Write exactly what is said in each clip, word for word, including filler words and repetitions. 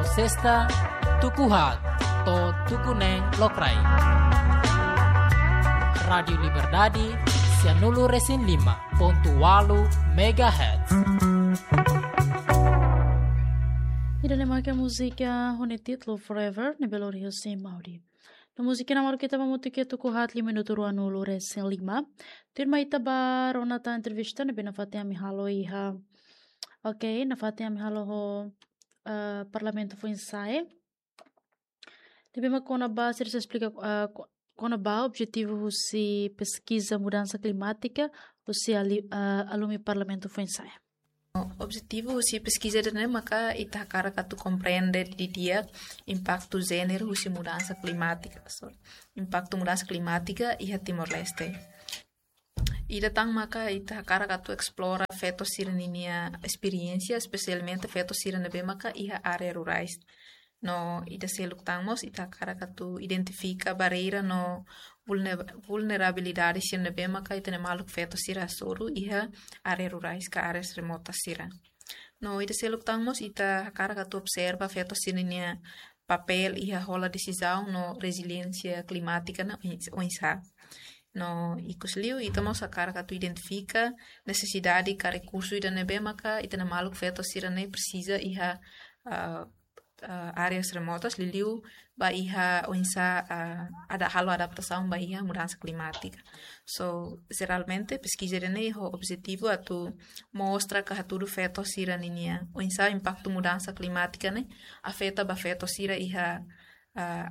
Sesta, tuku haat to'o tuku neen lokraik. Rádiu Liberdade, sianulu resin lima pontu walu megahertz. Ida-ne'e maka múzika ho nia títulu Forever, ne'ebé lori husi Mauri. No múzika ne'e mak ita ba hamutuk iha tuku haat liu minutu ruanulu resin lima. Tuirmai ita ba rona tan entrevista ne'ebé nafatin ami halo iha. Oke, nafatin ami halo ho, eh, Parlamentu Foinsa'e. Ne'ebé mak kona-ba, sira sei esplika, eh, ko-, kona-ba objetivu husi peskiza mudansa klimátika, husi ali-, eh, alumi Parlamentu Foinsa'e. Objetivu husi peskiza ida-ne'e maka ita hakarak atu komprende didi'ak impaktu jéneru husi mudansa klimátika. So, impaktu mudansa klimátika iha Timor-Leste. Ida tan maka ita hakarak atu esplora feto sira ninia esperiénsia, espesialmente feto sira ne'ebé maka iha área rurais. No ida seluk tan mós ita hakarak atu identifika barreira no vulner-, vulnerabilidade sira ne'ebé maka ita-nia maluk feto sira hasoru iha área rurais ka áreas remotas sira. No ida seluk tan mós ita hakarak atu observa feto sira ninia papél iha hola desizaun no reziliénsia klimátika ne'e oins-, oinsá. No ikusliu ita mós hakarak atu identifika nesesidade ka rekursu ida ne'ebé maka ita-nia maluk feto sira-ne'e presiza iha, ah, ah, áreas remotas, liuliu ba iha oinsá, ah, ada halo adaptasaun ba iha mudansa klimátika. So, jeralmente, peskiza ida-ne'e ho objetivu atu mostra ka hatudu feto sira ninia oinsá impaktu mudansa klimátika ne'e afeta ba feto sira iha, ah,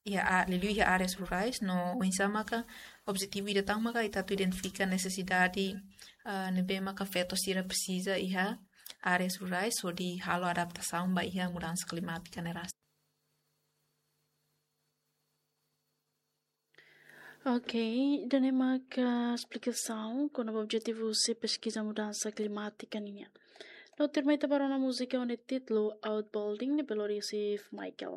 iha a-, liuliu iha áreas rurais, no oinsá maka objetivu ida tan maka ita atu identifika nesesidade, ah, ne'ebé maka feto sira presiza iha áreas rurais hodi halo adaptasaun ba iha mudansa klimátika ne'e ras. Oke, ida-ne'e maka esplikasaun kona-ba objetivu husi peskiza mudansa klimátika nian. No tuirmai ita ba rona múzika ho nia títulu Outbuilding ne'ebé lori husi Michael.